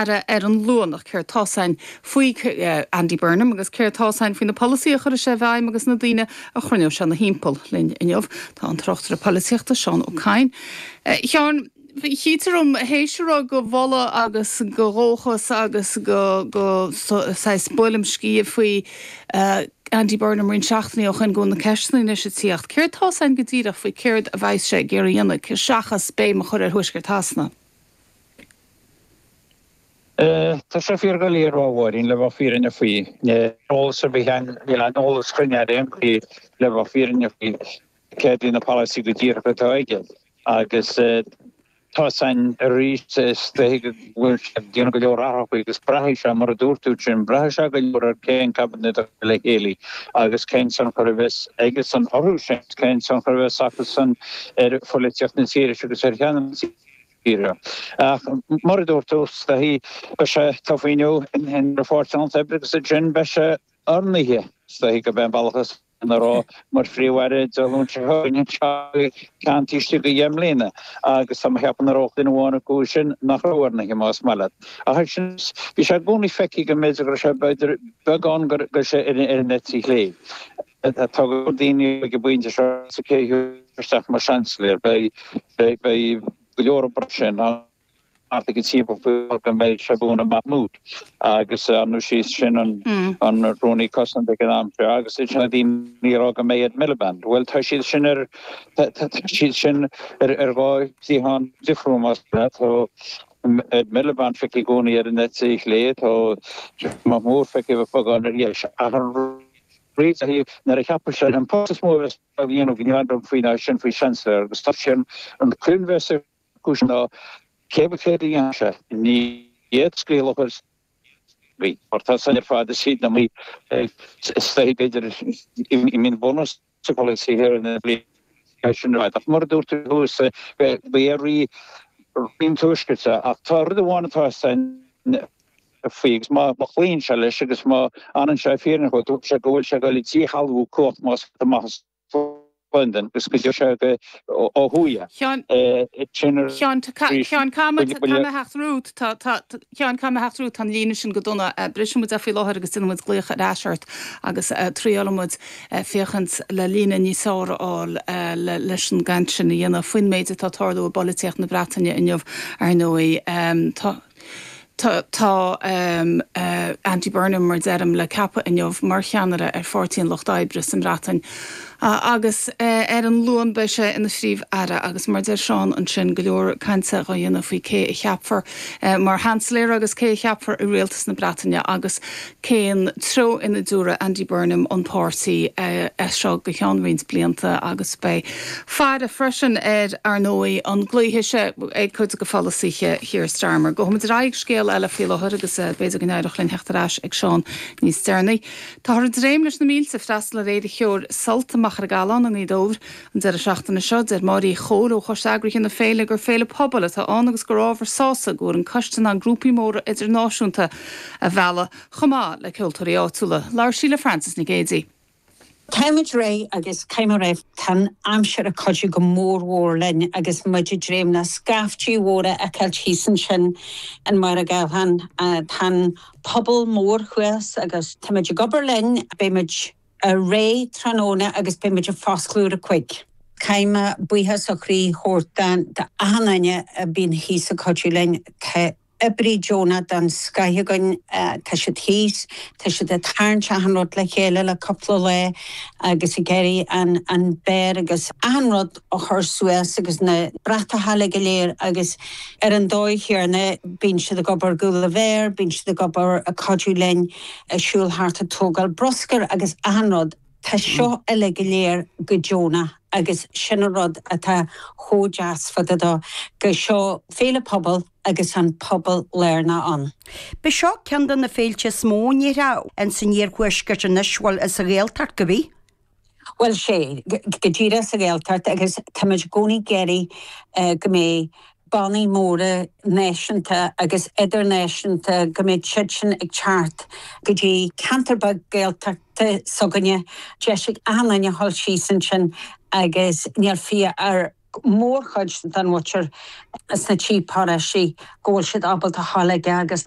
Phríomh-Aire ar an Luan. Ach céard tá's a'inn faoi Andy Burnham agus céard tá's a'inn faoi na polasaithe a chuirfidh sé i bhfeidhm agus na daoine a chruinneoidh sé ina thimpeall? Linn inniu tá an tráchtaire polaitíochta Seán Ó Cadhain. A Sheáin, chítear dom théis a raibh de mholadh agus de dhóchas agus de saghas buaileam sciath faoi Andy Burnham roinnt seachtainí ó shoin go bhfuil na ceisteanna anois ag tíocht. Céard tá's a'inn go díreach faoi céard a bheas sé ag iarraidh a dhéanamh seachas béim a chur ar Thuaisceart Shasana? Tá sé fíordhoiligh a rá, a Mháirín, le bheith fírinneach faoi. Níl eolas ar bith againn, níl aon eolas cruinn ar aon chaoi le bheith fírinneach faoi céard iad na polasaithe go díreach atá aige. Agus tá's a'inn arís is dóichí go bhfuil sé ag déanamh go leor athrachaí agus braithfidh sé, mar a dúirt tú sin, braithfidh sé go leor ar cén cabinet a chur le chéile agus cén tionchar a bheas aigesan orthu sin, cén tionchar a bheas acusan ar pholaitíocht na tíre seo agus ar cheannaire na tíre. Ach mar a dúirt tú, is dóichí, beidh sé tofa inniu ina Pháirtí an Lucht Oibre agus ansin beidh sé oirnithe, is dóichí gurb é an bealach is ina raibh mar Phríomh-Aire Dé Luain seo chugainn anseo ceann taobh istigh de dheich mbliana agus tá mé ag ceapadh nach raibh duine amháin acu sin nach raibh oirnithe más maith leat. Ach sin, bhí sé i gcónaí feicthe go mb'fhéidir go raibh sé b'fhéidir beagán go raibh sé ar an eite chlé. Tá go leor daoine ag an bpointe seo sa cé a thiocfas isteach mar Seansailéir. Beidh beidh go leor ag brath sin. thart ag an timpeall faoi go mbeidh sé Fiona Mahmood agus ar ndóigh sí sin an an Rúnaí Cosanta ag an am seo agus is na daoine a rá go mbeidh Ed Miliband. Bhuel tá siad sin ar tá siad sin ar ar dhá chliathán difriúil más leat. Tá Ed Miliband feicthe i gcónaí ar an eite chlé, tá Mahmood feicthe beagán ar dheis. Ach an rud nuair a cheapfas sé an post is mó a bheas á dhéanamh go ndéanfar faoi ná sin faoi Chancellor agus tá sin an coinbhéas cúis ná cé ba chéad a dhéanfaidh sé, ní iad scaoileadh a chuir mar tá san ar fad is iad na mí is dóichí b'fhéidir i mbun bunús sa pholasaí thiar ina bhliain sin ar fad. Ach mar a dúirt tú thuas, ba é rí an Tuaiscirt é. Ach tá rud amháin atá san faoi agus má chloíonn sé leis agus má fhanann sé fírinneach, dúirt sé go bhfuil sé ag dul ag díshealbhú cumhacht más amach as Londain agus go dtiocfaidh sé ó thuaidh. Sheáin, Sheáin, caithfidh mé theacht romhat, tá, tá, Sheáin, caithfidh mé theacht romhat, tá an líne sin go dona. Brisfidh muid é faoi láthair agus déanfaidh muid glaoch ar ais ort agus triailfidh muid féachaint le líne níos fearr a fháil leis an gcaint sin a dhéanamh faoin méid atá ag tarlú i bpolaitíocht na Breataine inniu, ar ndóigh. Tá. Tá Andy Burnham, mar a deirim, le ceapadh inniu mar cheannaire ar Pháirtí an Lucht Oibre sa mBreatain agus ar an Luan beidh sé ina Phríomh-Aire agus mar a deir Seán ansin, go leor cainte á dhéanamh faoi cé a cheapfar mar Sheansailéir agus cé a cheapfar i rialtas na Breataine agus cén treo ina dtabharfaidh Andy Burnham an páirtí as seo go ceann roinnt blianta agus beidh faire freisin ar, ar ndóigh, an gcloífidh sé ag cuid de pholasaithe Keir Starmer. Gabhfaidh muid ar aghaidh ag scéal eile faoi láthair agus b'fhéidir go n-éireodh linn theacht ar ais ag Seán níos deireanaí. Táthar ag dréim leis na mílte freastal ar Fhéile Cheoil Sult i Machaire Galán i nGaoth Dobhair. An deireadh seachtaine seo, deir Máire Uí Chomhaill ó Choiste Eagraithe na féile gur féile pobail atá ann agus gur ábhar sásaimh go bhfuair an coiste in ann grúpaí móra idirnáisiúnta a mhealladh chomh maith le ceoltóirí áitiúla. Labhair sí le Frances Nic Géadaigh. Táimid réidh agus caithfidh mé a rá tá an aimsir ag cuidiú go mór mhór linn agus muid ag dréim le scaiftí mhóra a fheiceáilt thíos ansin in Machaire Galtháin. Tá an pobal mór thuas agus táimid ag obair linn. Beidh muid réidh tráthnóna agus beidh muid ag foscladh ar a cuig. Caithfidh mé buíochas ó chroí a thabhairt d'achan duine a bíonn thíos ag cuidiú linn. Tá oibrí deonach den scoith againn, tá siad thíos, tá siad ag tarraingt achan rud le chéile le cúpla lá agus ag iarraidh an an beár agus achan rud a chur suas agus na bratacha uilig go léir agus ar an dóigh chéanna bíonn siad ag obair i gcúl an bheáir, bíonn siad ag obair ag cuidiú linn ag siúl thart ag tógáil bruscair agus achan rud. Tá seo uilig go léir go deonach agus sin an rud atá chomh deas fá dtaobh dó, go seo féile pobail agus an pobal lárnach ann. B'é seo ceann de na féilte is mó in Éirinn ins an iarthuaisceart anois, bhuel, sa Ghaeltacht, go bith. Bhuel, sé, go díreach sa Ghaeltacht agus táimid i gcónaí ag iarraidh go mbeidh bannaí móra náisiúnta agus idirnáisiúnta, go mbeidh siad sin ag teacht go dtí ceantar beag Gaeltachta s'againne, deis ag achan duine a dhul síos ansin agus níl fiach ar mhórchuid den mhuintir sna trí paróistí go bhfuil siad ábalta a dhul aige agus.